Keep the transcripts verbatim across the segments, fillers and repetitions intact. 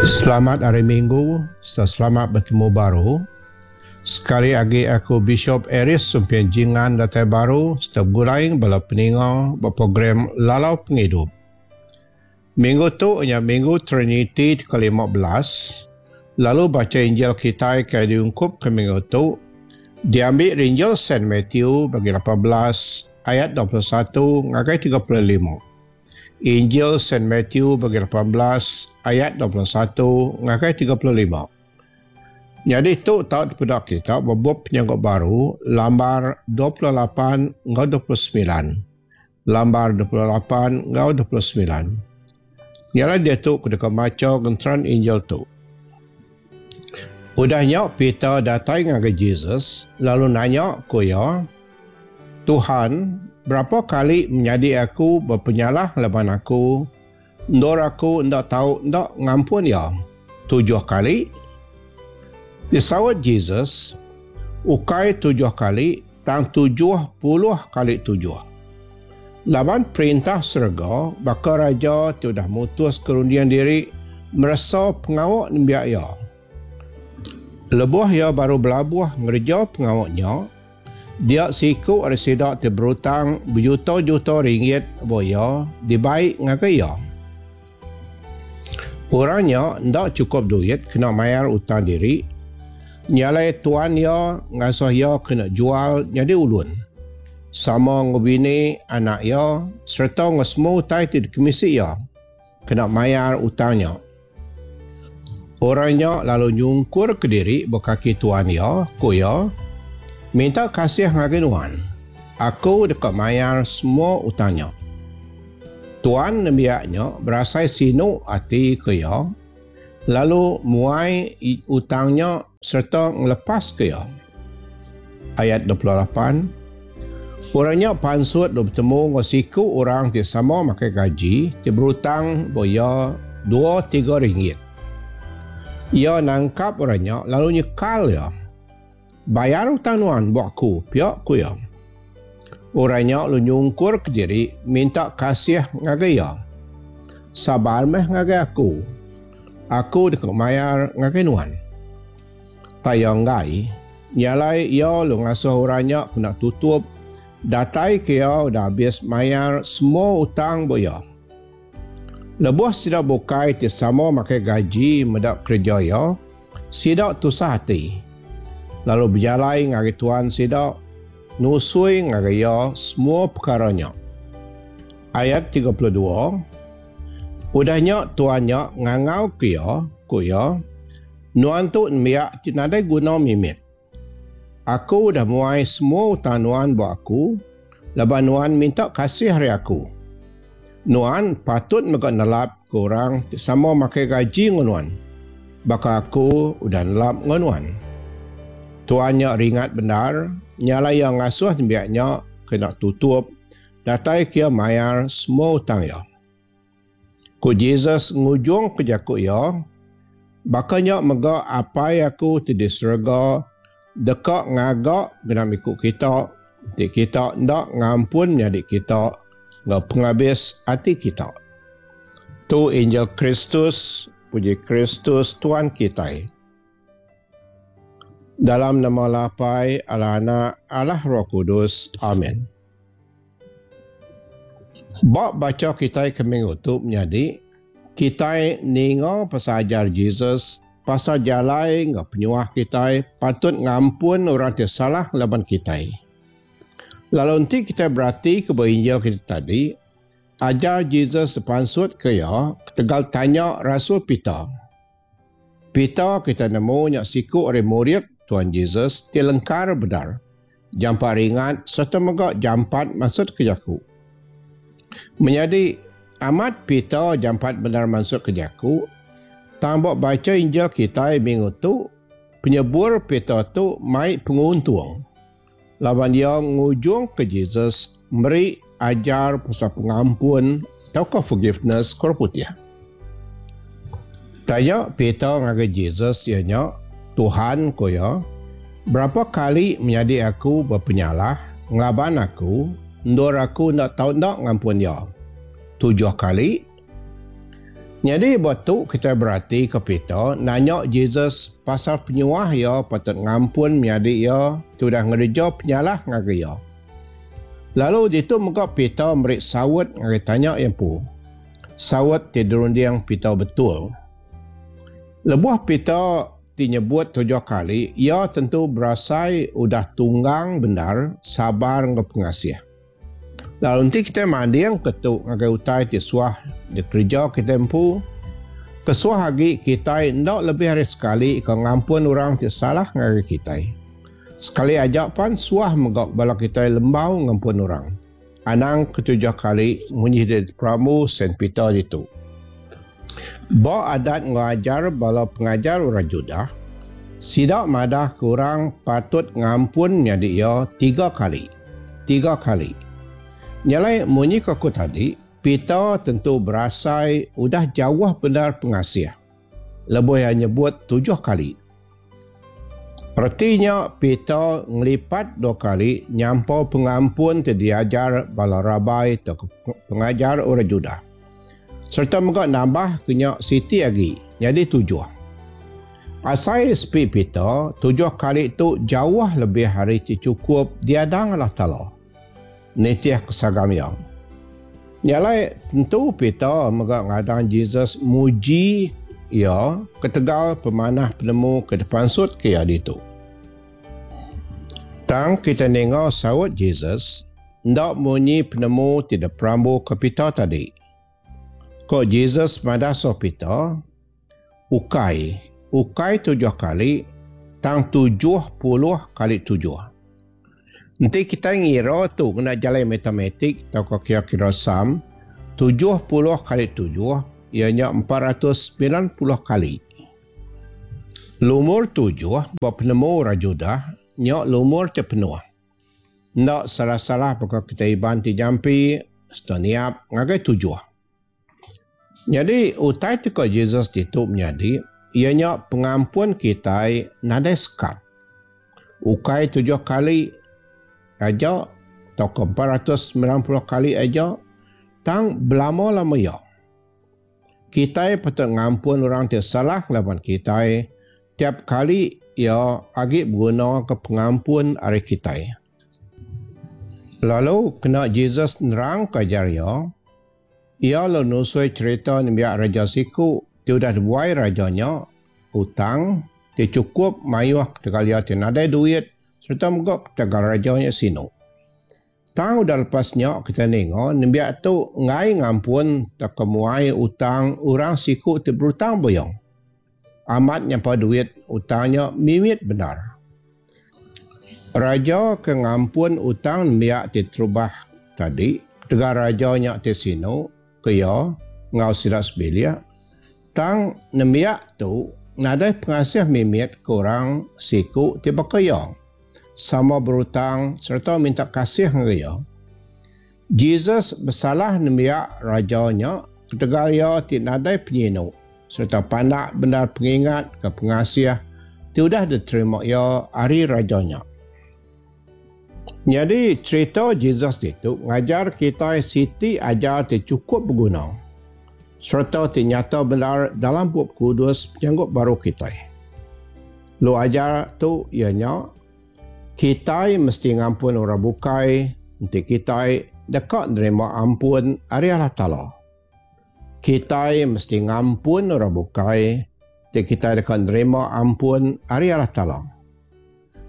Selamat hari Minggu serta selamat betemu baru. Sekali agi aku Bishop Aeries Sumping Jingan datai baru serta begulai bala peninga ba program Lalau Pengidup. Minggu tu nya Minggu Triniti ke lima belas, lalu baca Injil kitai ke diungkup ke minggu tu diambil ari Injil Saint Matthew bagi lapan belas ayat dua puluh satu ngagai tiga puluh lima. Injil Saint Matthew bagi lapan belas ayat dua puluh satu ngagai tiga puluh lima. Jadi tu tau dipeda kita bebup penyanggup baru lambar dua puluh lapan enggau dua puluh semilan. Lambar dua puluh lapan enggau dua puluh semilan. Nyala dia tu kedeka maca genteran Injil tu. Udah nya Peter datai ngagai Jesus lalu nanya ku iya, Tuhan, berapa kali menyadi aku berpenyalah laban aku, endur aku ndak tau ndak ngampun iya? Tujuh kali? Disaut Jesus, ukai tujuh kali, tang tujuh puluh kali tujuh. Laban perintah serega baka raja ti udah mutus kerundian diri meresa pengawak nembiak iya. Lebuh iya baru belabuh ngereja pengawaknya, dia siku ari sida ti berutang berjuta-juta ringgit ba iya dibai ngagai iya. Orang nya ndak cukup duit kena mayar utang diri, nyalai tuan iya ngasuh iya kena jual jadi ulun. Sama ngubini anak iya serta ngau semua utai ti dikemisi iya kena mayar utangnya. Orang nya lalu nyungkur ke diri bekaki tuan iya, ku iya, minta kasih ngagai nuan. Aku deka mayar semua utangnya. Tuan nembiaknya berasai sinu ati ke iya, lalu muai utangnya serta ngelepas ke iya. Ayat dua puluh lapan. Orangnya pansut lalu bertemu dengan siku orang ti sama makai gaji ti berutang ba iya dua tiga ringgit. Iya nangkap orangnya lalu nyekal iya. Bayar utang nuan buat aku, pia ku iya. Orangnya lalu nyungkur ke diri minta kasih ngagai iya. Sabar meh ngagai aku. Aku deka mayar ngagai nuan. Tayang ngai, nyalai iya lalu ngasuh orangnya kena tutup datai ke iya udah habis mayar semua utang bu iya. Lebuh sida bukai ti sama makai gaji medak kerja iya, sida tusah ati. Lalu berjalai ngagai tuan sida, nusui ngagai iya semua perkaranya. Ayat tiga puluh dua. Udahnya tuannya ngangau ke iya, ku iya, nuan tu nembiak ti nadai guna mimit. Aku dah muai semua utang nuan buat aku, laban nuan minta kasih hari aku. Nuan patut mega nelap ke orang ti sama makai gaji dengan nuan. Baka aku udah nelap dengan nuan. Tuannya ringat benar, nyala yang ngasuh nembiaknya kena tutup, datai kia mayar semua utang iya. Ku Jesus ngujung ke jaku iya, bakanya mega apai aku ti di serega deka ngagak genap ikut kita, ti kita ndak ngampun menyadi kita ngau penghabis ati kita. Tu Injil Kristus, puji Kristus Tuhan kitai. Dalam nama Allah Apai, Allah Anak, Allah Roh Kudus. Amin. Bak baca kitai ke minggu tu menjadi kitai ninga pasal ajar Jesus pasal jalai ngau penyuah kitai patut ngampun orang ti salah laban kitai. Lalu nanti kita berarti ke Injil kita tadi, ajar Jesus sepansut ke iya ketegal tanya Rasul Peter. Peter kita nemu nyak siku ari murid Tuhan Jesus ti lengkar bedar. Jampat ringat serta mega jampat masuk ke jaku. Menjadi amat Peter jampat benar masuk ke jaku, tambah baca Injil kita minggu tu, penyebur Peter tu mai penguntung. Laban dia ngujung ke Jesus meri ajar pasal pengampun atau forgiveness kor putih. Tanya Peter ngagai Jesus ianya, Tuhan ko ya, berapa kali menyadi aku berpenyalah ngelaban aku, endur aku ndak tau ndak ngampun dia? Tujuh kali. Nyadi ba tu kitai berati ke Peter nanya Jesus pasal penyuah iya patut ngampun menyadi iya ti udah ngereja penyalah ngagai iya. Lalu ditu mega Peter meri saut ngagai tanya iya empu. Saut ti dirunding Peter betul. Lebuh Peter ti nyebut tujuh kali, iya tentu berasai udah tunggang bendar sabar enggau pengasih. Lalu enti kitai manding ke tu ngagai utai ti suah dikereja kitai empu, kesuah agi kitai enda lebih ari sekali ke ngampun orang ti salah ngagai kitai. Sekali aja pan suah mega bala kitai lembau ngampun orang. Anang ketujuh kali munyi di perambu Saint Peter ditu. Ba adat enggau ajar bala pengajar orang Judah, sida madah ke orang patut ngampun menyadi iya tiga kali. Tiga kali. Nyalai munyi ke aku tadi, Peter tentu berasai udah jauh bendar pengasih. Lebuh iya nyebut tujuh kali. Retinya Peter ngelipat dua kali nyampau pengampun ti diajar bala rabai atau pengajar orang Judah. Serta mega nambah kenya siti agi, jadi tujuh. Asai sepi Peter, tujuh kali tu jauh lebih hari ti cukup diadang Allah Taala. Nitih kesagam iya. Nyalai tentu Peter mega ngadang Jesus muji iya ketegal pemanah penemu ke depansut ke iya ditu. Tang kita ninga saut Jesus, ndak munyi penemu ti diperambu ke Peter tadi. Ko Jesus madah so Peter, ukai, ukai tujuh kali, tang tujuh puluh kali tujuh. Enti kita ngira tu kena jalan matematik atau kira-kira sum, tujuh puluh kali tujuh ianya empat ratus sembilan puluh kali. Lumur tujuh ba penemu orang Judah nya lumur ti penuh. Ndak salah-salah baka kita Iban ti jampi setaniap ngagai tujuh. Jadi utai ti ko Jesus ditu menyadi ianya pengampun kitai nadai sekat. Ukai tujuh kali aja atau ke empat ratus sembilan puluh kali aja, tang belama-lama ya. Kitai patut ngampun orang ti salah lawan kitai tiap kali ia agi berguna ke pengampun ari kitai. Lalu kena Jesus nerang ke ajar ia, ia lalu nusui cerita nembiak raja siku ti udah dibuai rajanya utang ti cukup mayuh ketegal ia ti nadai duit serta mega ketegal rajanya sinu. Tang udah lepasnya kita ninga nembiak tu ngai ngampun tak kemuai utang orang siku ti berutang boyong. Amat nyampa duit utangnya mimit benar. Raja ke ngampun utang nembiak ti terubah tadi, ketegal rajanya ti sinu ke ia ngau sida sebilik, tang nembiak tu nadai pengasih mimit ke orang siku ti baka ia. Sama berutang serta minta kasih dengan ia. Jesus bersalah nembiak rajanya ketegal ia ti nadai penyinu serta pandak benar pengingat ke pengasih ti udah diterima ia ari rajanya. Jadi cerita Jesus itu ngajar kita siti ajar ti cukup berguna serta ti nyata benar dalam buku kudus penyanggup baru kita. Lu ajar tu ianya kitai mesti ngampun orang bukai enti kitai dekat nerima ampun ari Allah Taala. Kitai mesti ngampun orang bukai enti kitai dekat nerima ampun ari Allah Taala.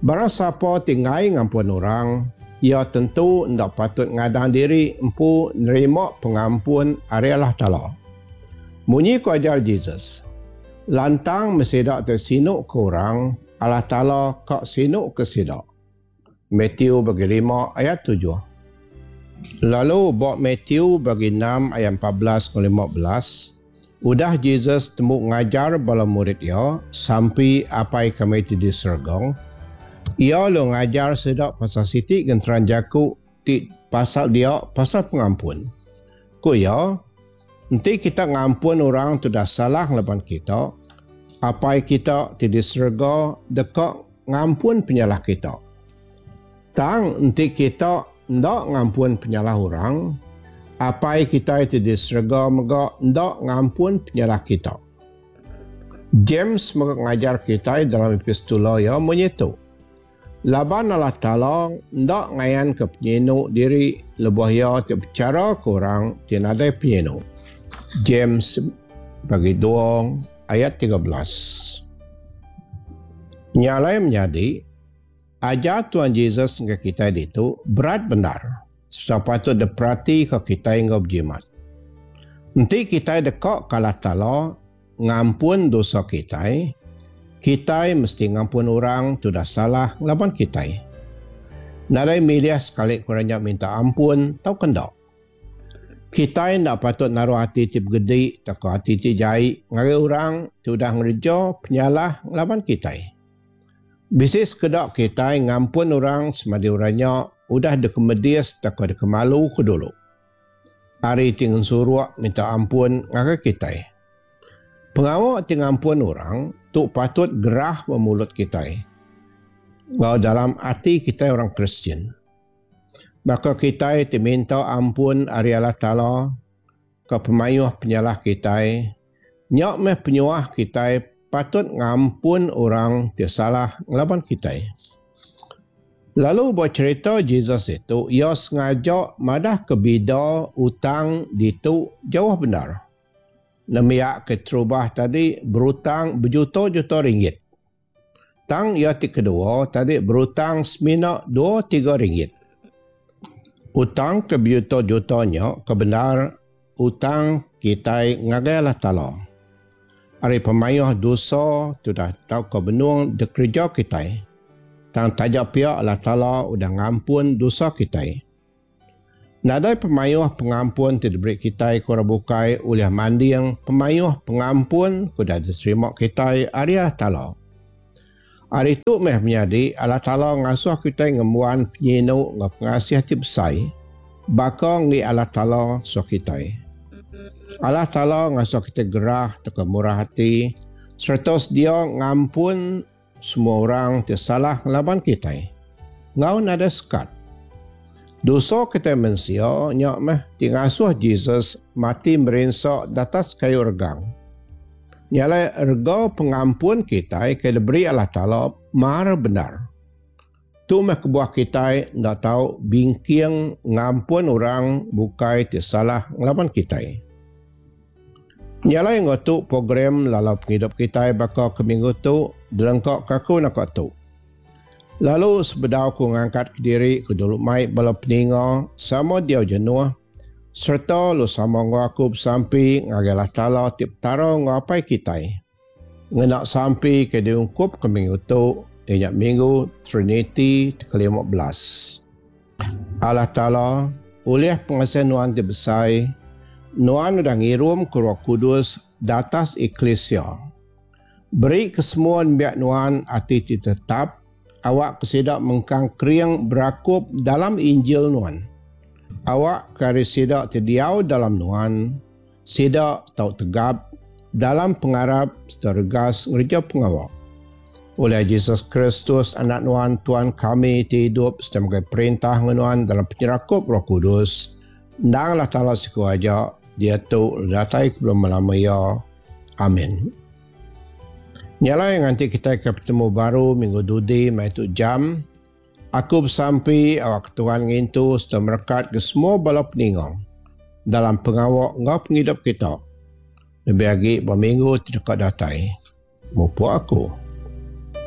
Barang siapa tinggai ngampun orang, ia tentu ndak patut ngadang diri empu nerima pengampun ari Allah Taala. Munyi ku ajar Jesus, lantang mesti dak tersinuk ke orang, Allah Taala kak sinuk ke sidak. Matthew bagi lima ayat tujuh. Lalu bab Matthew bagi enam ayat empat belas ke lima belas, udah Jesus temu ngajar bala murid ia sampai apai kami ti di serga. Ia lu ngajar sedak pasal siti genteran jaku ti pasal dia pasal pengampun. Ku ia, enti kita ngampun orang tu dah salah laban kita, apai kita ti di serga dekat ngampun penyalah kita. Tang enti kita ndak ngampun penyalah orang, Apai kitai ti di serega mega enda ngampun penyalah kita. James mega ngajar kitai dalam epistula iya munyi tu, Laban Allah Taala enda ngayanka penyinu diri lebuh iya ti bechara ke orang ti nadai penyinu. James bagi dua ayat tiga belas. Nya alai menyadi, ajar Tuhan Jesus ngagai kitai ditu berat bendar sereta patut diperatika kitai enggau bejimat. Enti kitai deka ke Allah Taala ngampun dosa kitai, kitai mesti ngampun orang ti udah salah ngelaban kitai. Nadai milih sekali ke orang nya minta ampun tauka enda. Kitai enda patut naruh ati ti begedi tauka ati ti jai ngagai orang ti udah ngereja penyalah ngelaban kitai. Bisi sekeda kitai ngampun orang semadi orang nya udah dikemedis tauka dikemaluka dulu. Ari ti ngensuruk minta ampun ngagai kitai. Pengawa ti ngampun orang tu patut gerah ba mulut kitai enggau dalam ati kitai orang Kristian. Baka kitai ti minta ampun ari Allah Taala ke pemayuh penyalah kitai, nya meh penyuah kitai patut ngampun orang ti salah ngelaban kitai. Lalu ba cherita Jesus ditu, iya sengaja madahka bida utang ditu jauh bendar. Nembiak ke terubah tadi berutang bejuta-juta ringgit. Tang iya ti kedua tadi berutang semina dua tiga ringgit. Utang ke bejuta-juta nya ke bendar utang kitai ngagai Allah Taala. Ari pemayuh dosa ti udah tauka benung dikereja kitai. Tang taja pia Allah Taala udah ngampun dosa kitai. Nadai pemayuh pengampun ti diberi kitai ke orang bukai ulih manding pemayuh pengampun ke udah diterima kitai ari Allah Taala. Ari tu meh menyadi Allah Taala ngasuh kitai ngembuan penyinu enggau pengasih ti besai baka enggi Allah Taala suah kitai. Allah Taala ngasuh kitai gerah tauka murah ati sereta sedia ngampun semua orang ti salah ngelaban kitai enggau nadai sekat. Dosa kitai mensia nya meh ti ngasuh Jesus mati merinsa datas kayu regang. Nya alai rega pengampun kitai ke diberi Allah Taala mar bendar. Tu meh kebuah kitai enda tau bingking ngampun orang bukai ti salah ngelaban kitai. Nya alai enggau tu program lalau pengidup kitai baka ke minggu tu dilengka ke aku naka tu. Lalu sebedau aku ngangkat kediri ku dulu mai bala peninga sama diau jenuh sereta lu sama enggau aku besampi ngagai Allah Taala ti Petara enggau Apai kitai. Ngena sampi ke diungkup ke minggu tu iya nya Minggu Triniti ti kelima belas. Allah Taala, ulih pengasih Nuan ti besai, Nuan udah ngirum ke Roh Kudus datas eklisia. Beri ke semua nembiak Nuan ati ti tetap, awak ke sida mengkang kering berakup dalam Injil Nuan. Awak ke ari sida ti diau dalam Nuan, sida tau tegap dalam pengarap sereta regas ngereja pengawa. Oleh Jesus Kristus, Anak Nuan, Tuan kami ti idup sereta megai perintah enggau Nuan dalam penyerakup Roh Kudus, endang Allah Taala siku aja, diatu lalu datai ke belama-lama iya. Amin. Nya alai nganti kitai ke betemu baru minggu dudi maya tu jam, aku besampi awakka Tuhan ngintu sereta merekatka semua bala peninga dalam pengawa enggau pengidup kita, lebih agi ba minggu ti deka datai. Mupuk aku.